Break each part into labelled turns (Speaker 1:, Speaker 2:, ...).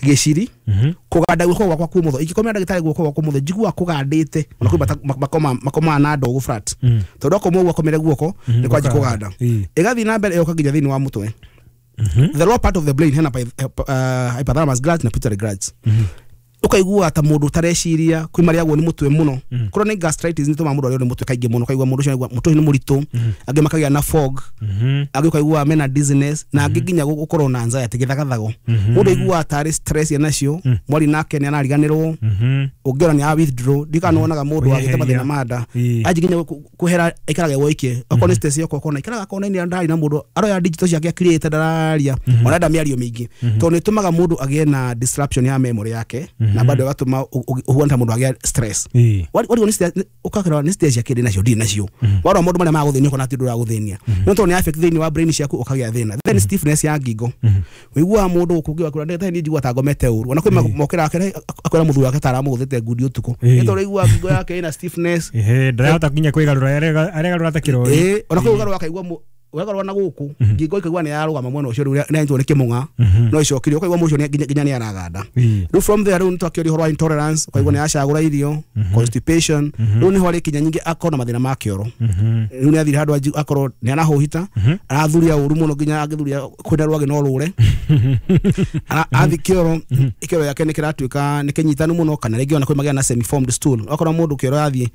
Speaker 1: Gĩciri kũganda guoko gwakwa kumotho, ingĩkomera ndagĩtarĩ guoko gwakwa kumotho njiguaga kũgandĩte, ona kwĩ makomaga na ndogo flat, tondũ akoma ũguo akomere guoko nĩ kwanji kũganda. Ĩgathiĩ na mbere ĩgoka nginya thĩinĩ wa mũtwe, the lower part of the brain, hena hypothalamus glands na pituitary glands. Ũkaigua ta mũndũ ũtareciria, kwĩ marĩagwo nĩ mũtwe mũno. Chronic gastritis nĩ tũmaga mũndũ arĩo nĩ mũtwe kaingĩ mũno, ũkaigua mũndũ ũcio mũtwe ũcio nĩ mũritũ. Angĩ makagĩa na fog, angĩ ũkaigua mena dizziness, na angĩ nginya gũkorwo na anxiety, gĩthagathago. Mũndũ aiguaga tarĩ stress enacio, mwari nake nĩ arariganĩrwo, ũngĩona nĩ withdraw ndikana wonaga mũndũ agĩte mathĩna ma nda anji nginya kwehera, aikaraga woike. Okorwo nĩ stress yoka, okona aikaraga kona-inĩ, ndarĩ na mũndũ, aroya digital ciake akirĩte, ndararia ona enda mĩario mĩingĩ, tondũ nĩ ĩtũmaga mũndũ agĩe na disruption ya memory yake, na bado ĩgatũma ũhuane ta mũndũ agĩa stress. Warigwo nĩ stress, ũkakĩrora nĩ stress ciake ndĩ nacio, ndirĩ nacio. Warora maũndũ marĩa magũthĩnia, ũkona ti ũndũ ũragũthĩnia, no tondũ nĩ affect thĩinĩ wa brain ciaku, ũkagĩa thĩna. Then stiffness ya ngingo, ũiguaga mũndũ gũkũ ũngĩ ndagĩtarĩ, niĩ njiguaga ta ngomete ũru. Ona kwĩ mokĩra akwĩra mũthuri wake ta aramũgũthĩte ngundi ũtukũ, nĩ tondũ ũiguaga ngingo yake ĩna stiffness.
Speaker 2: Ehe, ndarahota nginya kwĩgarũra, aregarũra ta kĩrori.
Speaker 1: Ĩĩ, ona kwĩ ũgarũra akaigua wegarũra na gũkũ ngingo ikaigua nĩ yarũgama mwena ũcio, rĩu nĩ anyitwo nĩ kĩmũng'a no ĩcokire, ũkaigua mũndũ ũcio nginya nĩ araganda. Rĩu from there, rĩu nĩ twakĩoria ũhoro wa intolerance, ũkaigua nĩ acagũra irio, constipation. Rĩu nĩho arĩkinya nyingĩ akorwo na mathĩna ma kĩoro. Rĩu nĩ athire handũ akorwo nĩ arahũhita, arathuria ũru mũno, nginya angĩthuria kwĩna rwagĩ no rũre. Athi kĩoro, kĩoro yake nĩ kĩratuĩka nĩ kĩnyitanu mũno, kana rĩngĩ ona kwĩ magĩa na semi formed stool. Okorwo mũndũ kĩoro yathiĩ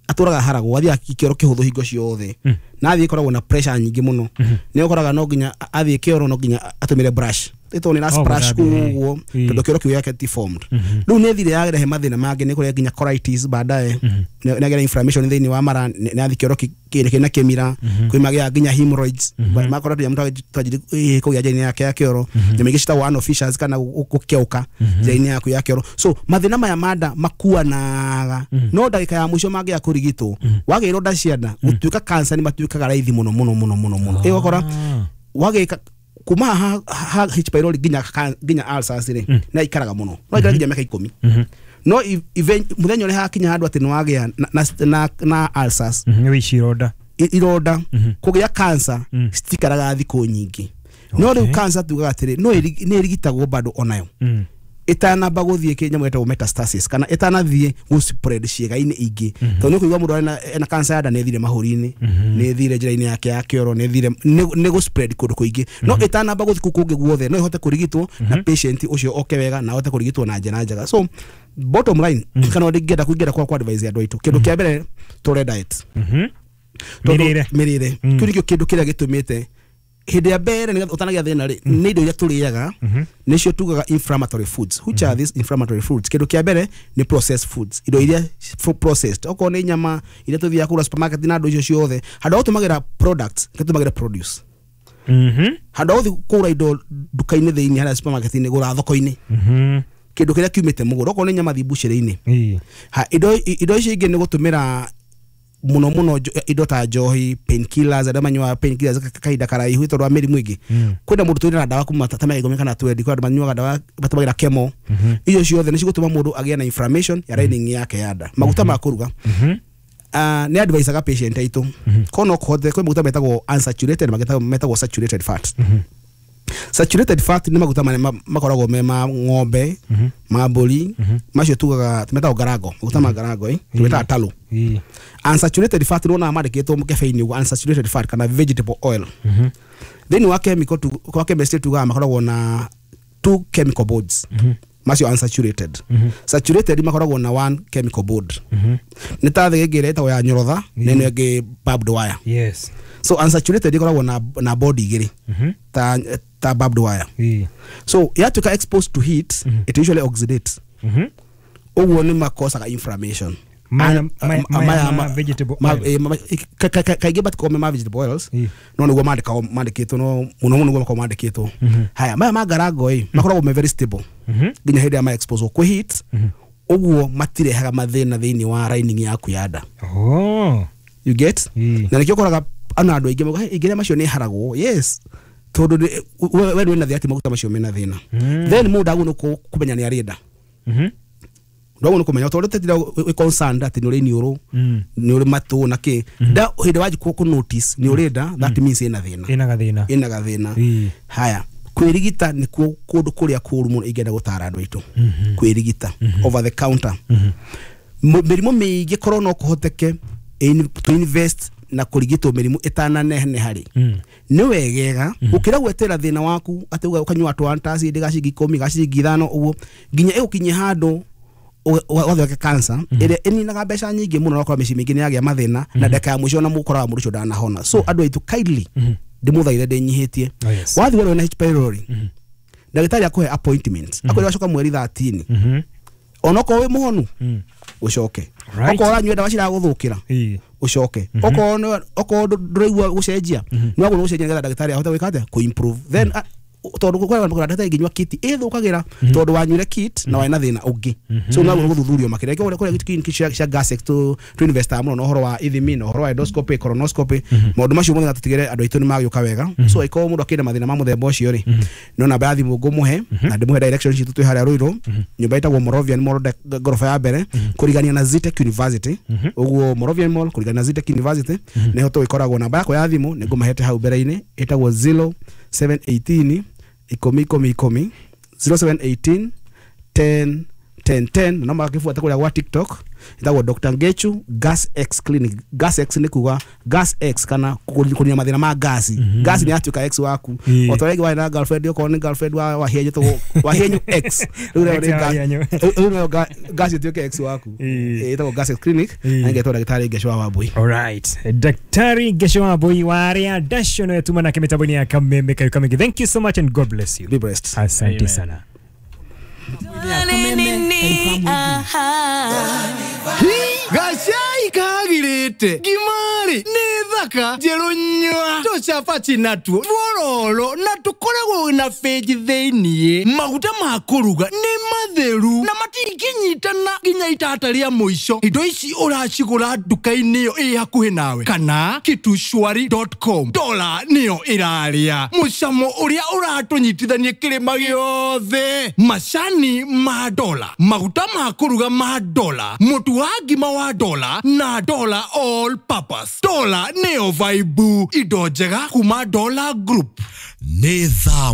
Speaker 1: atũraga haragwo, athiĩ kĩoro kĩhũthũ hingo ciothe, na athiĩ ĩkoragwo na pressure nyingĩ mũno, nĩ ũkoraga no nginya athiĩ kĩoro, no nginya atũmĩre brush, ĩtwo nĩ splash ũguo, tondũ kĩoro kĩu gĩake ti formed. Rĩu nĩ thire yarehe mathĩna mangĩ, nĩ kũrĩa nginya colitis baadaye, nĩ agĩa inflammation thĩinĩ wa mara, nĩ athi kĩoro kĩna kĩmira. Kwĩ magĩa nginya hemorrhoids, makora tũnyamũ twanjiri kũgĩa njĩra-inĩ yake ya kĩoro, nyamũ ingĩ citagwo anal fissures kana gũkĩaũka njĩra-inĩ yaku ya kĩoro. So mathĩna maya ma nda makuanaga, no ndagĩka ya mũico mangĩaga kũrigitwo, wagĩa ironda cia nda gũtuĩka cancer nĩ matuĩkaga raithi mũno mũno mũno mũno mũno. Ĩgakora wagĩka kuma ha H pylori nginya ulcers rĩ, nĩ aikaraga mũno, no aikara nginya mĩaka 10. No mũthenya ũrĩa hakinya handũ atĩ nĩ wagĩa na ulcers,
Speaker 2: Nĩ ici ironda,
Speaker 1: ironda kũgĩa cancer citikaraga thikũ nyingĩ. No rĩu cancer tugaga atĩrĩ, no nĩ ĩrigitagwo bado onayo ĩtanamba gũthiĩ kĩnyamũ gĩtagwo metastasis, kana ĩtanathiĩ gũ spread ciĩga-inĩ ingĩ, tondũ nĩ ũkũigua mũndũ ena cancer ya nda nĩ ĩthire mahũri-inĩ, nĩ ĩthire njĩra-inĩ yake ya kĩoro, nĩ ĩthire nĩ gũ spread kũndũ kũingĩ. No ĩtanamba gũthiĩ kũu kũngĩ guothe, no ĩhote kũrigitwo na patient ũcio oke wega na ahote kũrigitwo na njĩra njega. So bottom line, kana ndingĩenda kũingĩra kwa advise andũ aitũ, kĩndũ kĩa mbere tũre diet.
Speaker 2: Mĩrĩre.
Speaker 1: Mĩrĩre, kĩu nĩkĩo kĩndũ kĩrĩa gĩtũmĩte hĩndĩ ya mbere nĩgetha ũtanagĩa thĩna rĩ, nĩ indo iria tũrĩaga nĩcio tugaga inflammatory foods. Which are these inflammatory foods? Kĩndũ kĩa mbere nĩ processed foods, indo iria processed, okorwo nĩ nyama iria tũthiaga kũgũra supermarket na andũ icio ciothe. Handũ ha gũtũmagĩra products, tũtũmagĩra produce. Handũ ha gũthiĩ kũgũra indo nduka-inĩ thĩinĩ harĩa supermarket-inĩ, gũra thoko-inĩ, kĩndũ kĩrĩa kiumĩte mũgũnda. Okorwo nĩ nyama, thiĩ mbucĩrĩ-inĩ. Indo icio ingĩ nĩ gũtũmĩra mũno mũno indo ta njohi, painkillers, arĩa manyuaga painkillers kahinda karaihu tondũ wa mĩrimũ ĩngĩ. Kwĩna mũndũ twĩna ndawa kuma ta mĩaka 10 kana 20, kwĩ andũ manyuaga ndawa matũmagĩra chemo. Icio ciothe nĩ cigũtũma mũndũ agĩe na inflammation ya lining yake ya nda. Maguta ma kũruga, nĩ advisaga patient aitũ ko no kũhote, kwĩ maguta metagwo unsaturated, maguta metagwo saturated fat. Saturated fat nĩ maguta marĩa makoragwo me ma ng'ombe, ma mbũri, macio tugaga metagwo garango, maguta ma garango, tũmetaga talo. Unsaturated fat nĩ wonaga mandĩkĩtwo mũkebe-inĩ ũguo, unsaturated fat kana vegetable oil. Thĩinĩ wa chemical tu, kwa chemistry tugaga makoragwo na two chemical bonds macio unsaturated. Saturated makoragwo na one chemical bond, nĩ ta thĩgĩngĩ ĩrĩa ĩtagwo ya nyorotha na ĩno ĩngĩ barbed wire. So unsaturated ĩkoragwo na bond igĩrĩ ta barbed wire. So yatuĩka exposed to heat, it usually oxidates. Ũguo nĩ makosaga inflammation.
Speaker 2: Maya ma vegetable oil.
Speaker 1: Kaingĩ matikoragwo me ma vegetable oils, no nĩguo mandĩkagwo, mandĩkĩtwo, no mũno mũno nĩguo makoragwo mandĩkĩtwo. Haya maya ma ngarango ĩ makoragwo me very stable nginya hĩndĩ ya ma expose kwĩ heat, ũguo matirehaga mathĩna thĩinĩ wa lining yaku ya nda. You get? Na nĩkĩo ũkoraga ana andũ aingĩ mauga, "Hey, ingĩrĩa macio nĩ haragwo." Yes, tondũ we ndwĩ na thĩna, atĩ maguta macio mena thĩna. Then mũndũ agwo nĩ kũmenya nĩ arĩ nda, ndwagwo nĩ kũmenya tondũ tetira wĩ concerned atĩ nĩ ũrĩ iniũrũ, nĩ ũrĩ matũ na kĩ nda. Hĩndĩ wanji kũ notice nĩ ũrĩ nda, that means ĩna thĩna.
Speaker 2: Ĩna gathĩna.
Speaker 1: Ĩna gathĩna. Haya, Kwĩrigita nĩkuo kũndũ kũrĩa kũũru mũno ingĩenda gũtara andũ aitũ. Kwĩrigita over the counter. Mĩrimũ mĩingĩ korwo no kũhoteke to invest na kũrigitwo mĩrimũ ĩtananeneha rĩ, nĩ wegega gũkĩra gwetera thĩna waku atĩ ũkanyua tũ antacid ga ciringi 10 ga ciringi 5 ũguo nginya ĩgũkinyie handũ ũgathondeka cancer ĩrĩa ĩninaga mbeca nyingĩ mũno, ũgakora mĩciĩ mĩingĩ nĩ yagĩa mathĩna na ndagĩka ya mũico na mũkoraga mũndũ ũcio ndanahona. So andũ aitũ, kindly ndĩmũthaithe ndĩnyihĩtie.
Speaker 2: Oh, yes.
Speaker 1: Wathiĩ werwo wĩna H pylori, ndagĩtarĩ akũhe appointment, akwĩra wacoka mweri 13, onokorwo wĩ mũhonu ũcoke, okorwo ũranyua ndawa ciragũthũkĩra ũcoke, okorwo ndũraigua gũcenjia nĩ wagũrwo gũcenjia nĩgetha ndagĩtarĩ ahote gwĩka atĩa, kũ improve then, tondũ kũrĩ ndagĩtarĩ ĩngĩnyua kit ĩthũkagĩra tondũ wanyuire kit na warĩ na thĩna ũngĩ, so no wagũrwo gũthuthurio makĩria. Kũrĩa kũrĩa clinic cia Gasex tu invest mũno na ũhoro wa ithimi na ũhoro wa endoscopy, colonoscopy, maũndũ macio mothe, tũtigĩre andũ aitũ nĩ magĩũka wega. So angĩkorwo mũndũ akĩrĩ na mathĩna ma mũthemba ũcio rĩ, no namba ya thimũ ngũmũhe na ndĩmũhe direction citũ. Twĩ harĩa Ruiru, nyũmba ĩtagwo Moravian Mall, ngoroba ya mbere kũrigania na Zetech University. Ũguo Moravian Mall kũrigania na Zetech University nĩho tũgĩkoragwo. Namba yakwa ya thimũ nĩ ngũmahete hau mbere-inĩ, ĩtagwo 0718 10 10 10, 0718 10 10 10. No magakĩbuata kũrĩa gwa TikTok, ĩtagwo Dr. Ngechu Gas X Clinic. Gas X nĩ kuga Gas X kana kũnina mathĩna ma gasi. Gasi nĩ yatuĩka X waku, o ta ũrĩa warĩ na girlfriend, okorwo nĩ girlfriend wa Wahienyu, tũgwo Wahienyu X, rĩu nayo
Speaker 2: Ex
Speaker 1: nĩ
Speaker 2: ya Wahienyu.
Speaker 1: Rĩu nayo gas ĩtuĩke X waku. Ĩtagwo Gas X Clinic na ngetwo ndagĩtarĩ Ngechu wa Wambui.
Speaker 2: Alright. Daktari Ngechu Wambui wa aria Dasho no yatuma nake mitambo-inĩ ya Kameme Kayo Kamenge. Thank you so much and God bless you.
Speaker 1: Be blessed.
Speaker 2: Asante
Speaker 3: Amen.
Speaker 2: sana.
Speaker 4: Gacai kagirĩte ngimari nĩ thaka njerũ nyua tũcabaci natuo twororo na tũkoragwo na bĩnji thĩiniĩ. Maguta ma kũruga nĩ matheru na matingĩnyitana nginya itata rĩa mũico. Indo ici ũracigũra nduka-inĩ ĩyo ĩ hakuhĩ nawe kana kitushwari.com. Dola nĩyo ĩrarĩa mũcamo ũrĩa ũratũnyitithania kĩrĩma gĩothe. Macani ma dola, maguta ma kũruga ma dola, mũtu wa ngima wa dola na dola all purpose. Dola nĩyo vaibu, indo njega kuma Dola Group.
Speaker 5: Nĩ thaa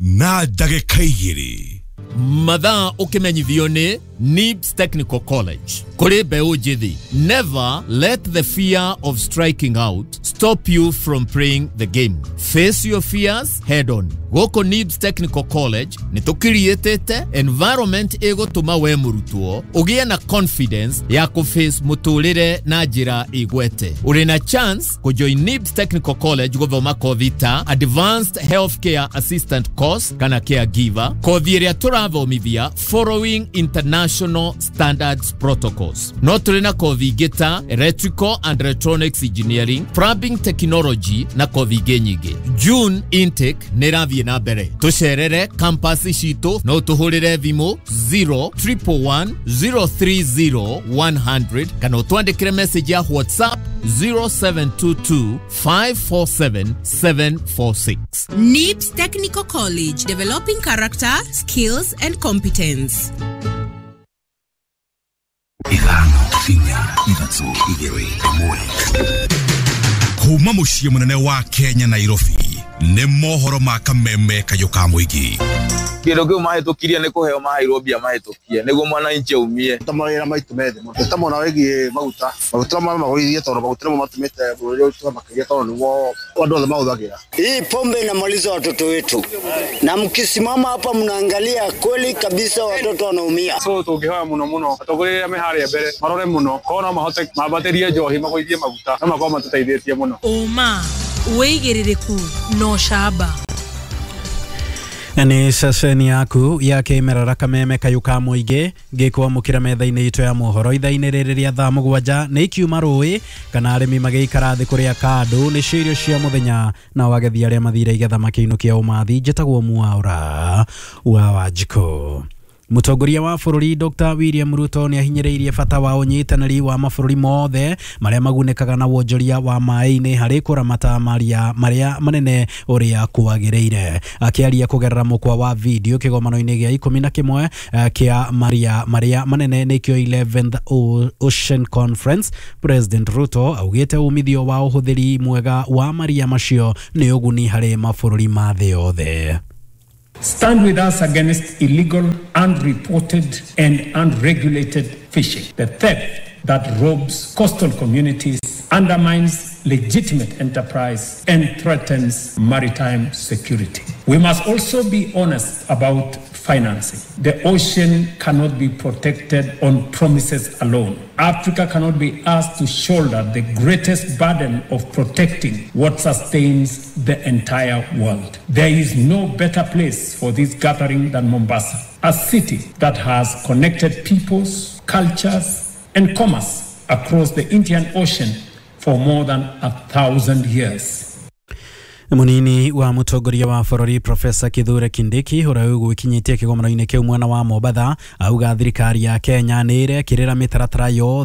Speaker 5: 7:02.
Speaker 6: Mathaa ũkĩmenyithio nĩ NIBS Technical College. Kũrĩ mbeũ njĩthĩ, never let the fear of striking out stop you from playing the game. Face your fears head on. Gũkũ NIBS Technical College nĩ tũkiriĩtĩte environment ĩgũtũma we mũrutwo ũgĩe na confidence ya kũface mũtũrĩre na njĩra igwete. Ũrĩ na chance kũjoin NIBS Technical College gũthoma kothi ta Advanced Healthcare Assistant Course kana Caregiver, kothi ĩrĩa tũrathomithia following international standards protocols. No tũrĩ na kothi ingĩ ta Electrical and Electronics Engineering, Plumbing Technology na kothi ingĩ nyingĩ. June intake nĩ ĩrathiĩ na mbere. Tũcerere campus citũ, no tũhũrĩre thimũ 0 111 030 100 kana ũtwandĩkĩre message ya WhatsApp 0722 547 746.
Speaker 7: NIBS Technical College, developing character, skills, and competence.
Speaker 5: 5 4 3 2 1. Kuma mũciĩ mũnene wa Kenya, Nairobi, nĩ mohoro ma Kameme Kayũ ka mũingĩ.
Speaker 8: Kĩndũ kĩu mahĩtũkirie nĩ kũheo maheirwo mbia mahĩtũkie nĩguo mwananchi aumie.
Speaker 9: Ta mawĩra maitũ methĩ mũno ta mwena wĩgiĩ maguta, maguta magũithie tondũ maguta nĩmo matũmĩte bũrũri ũyũ makĩria tondũ nĩguo andũ othe mahũthagĩra.
Speaker 10: Hii pombe inamaliza watoto wetu, na mkisimama hapa mnaangalia kweli kabisa watoto wanaumia.
Speaker 11: So tũngĩhoya mũno mũno atongoria arĩa me harĩa mbere marore mũno korwo no mahote mambatĩrie njohi, magũithie maguta, no makorwo matũteithĩtie mũno.
Speaker 7: Ũma, wĩigĩrĩrĩku na ũcamba.
Speaker 12: Nĩ ceceni yaku ya kĩmerera Kameme Kayũ ka mũingĩ ngĩkwamũkĩra metha-inĩ itũ ya mohoro ithaa-inĩ rĩrĩ rĩa thaa 7. Nĩ ikiuma rũĩ kana arĩmi magĩikara thĩ kũrĩa kandũ nĩcio irio cia mũthenya, nao agethi arĩa mathire igetha makĩinũkia ũmathi. Njĩtagwo Mwaũra wa Wanjikũ. Mũtongoria wa bũrũri Dr. William Ruto nĩ ahinyĩrĩirie bata wa ũnyitanĩri wa mabũrũri mothe marĩa magunĩkaga na wonjoria wa maĩ-inĩ harĩ kũramata maria marĩa manene ũrĩa kwagĩrĩire. Akĩaria kũgerera mũkwa wa video kĩgomano-inĩ gĩa 11 kĩa maria marĩa manene nĩkĩo 11th Ocean Conference, President Ruto augĩte umithio wa ũhũthĩri mwega wa maria macio nĩ ũguni harĩ mabũrũri ma thĩ yothe.
Speaker 3: Stand with us against illegal, unreported, and unregulated fishing, the theft that robs coastal communities, undermines legitimate enterprise, and threatens maritime security. We must also be honest about financing. The ocean cannot be protected on promises alone. Africa cannot be asked to shoulder the greatest burden of protecting what sustains the entire world. There is no better place for this gathering than Mombasa, a city that has connected peoples, cultures, and commerce across the Indian Ocean for more than 1,000 years.
Speaker 12: Munini wa mutongoria wa bũrũri Profesa Kithure Kindiki ũrĩa ũgwĩkinyĩtie kĩgomano-inĩ kĩu mwena wa Mombatha auga thirikari ya Kenya nĩ ĩrekĩrĩra mĩtaratara yothe.